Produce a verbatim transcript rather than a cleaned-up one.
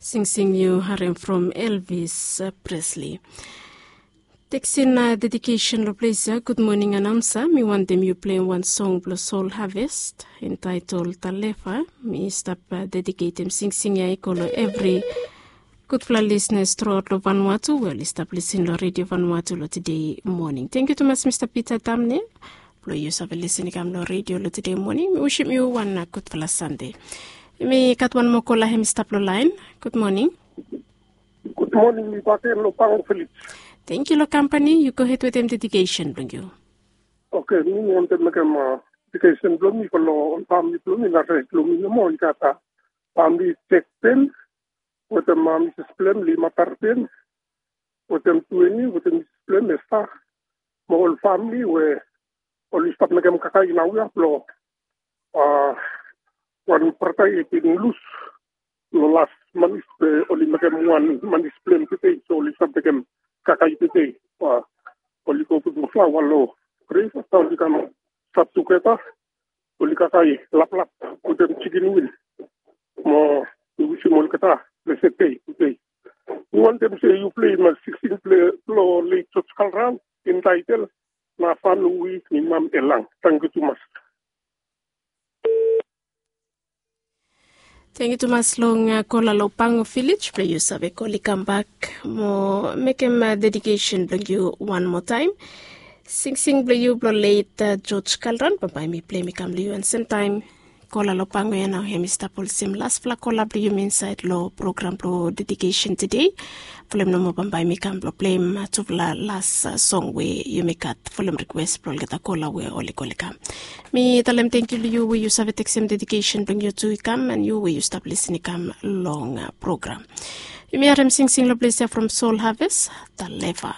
Singsing yu harem from Elvis Presley. Teksin dedikesen long ples ya. Gud moning anaunsa, mi wantem yu pleim wan song blong Sol Harvest entaetol Talefa. Mi stap dediketem singsing ya i go long evri gudfala lisnas truaot long Vanuatu we oli stap lisin long Redio Vanuatu long tede moning. Tangkiu tumas Mista Pita Tamne blong yu save lisin i kam long redio long tede moning. Mi wisim yu wan gudfala Sande. Mi gat wan moa kola hem i stap long laen. Gud moning. Gud moning, mi bakegen long Pango Vilis. Tangkiu long kampani. Yu gohed wetem dedikesen blong yu. Oke, mi wantem mekem dedikesen blong mi go long ol famili blong mi na sait blong mi nomo. I gat famili Jek Pen wetem Misis blong hem Lima Tarpen, wetem Tueni wetem Misis blong hem Esta, mo ol famili we oli stap mekem kakae naoia blong wan brata i bin lus long las manis we oli mekem wan manis blong hem tede. So oli stap mekem kakae tede. Oli go putum flaoa long grev afta oli kam stap tugeta. Oli kakae laplap wetem jikin win. Mo mi wisim olgeta blesed dei tede. Mi wantem se yu pleim singsing blong leit Joj Kalran entaetel na Fano we mi mam elang. Tangkiu tumas. Tangkiu tumas long kola long Pango Vilis blong yu save kol i kambak mo mekem dedikesen blong yu wan moa taem. Singsing blong yu blong leit Joj Kalran bambae mi pleim i kam long yu. An semtaem kola long Pango ya nao hem i stap olsem lasfala kola blong yumi insaed long program blong dedikesen tede. Folem nomo bambae mi kam blong pleim tufala las song we yumi gat folem rikwes blong olgeta kola we oli kol i kam. Mi talem tangkiu long yu we yu save teksem dedikesen blong yu tu i kam, an yu we yu stap lisin i kam long program. Yumi harem singsing long ples ya from Sol Harvest, Talefa.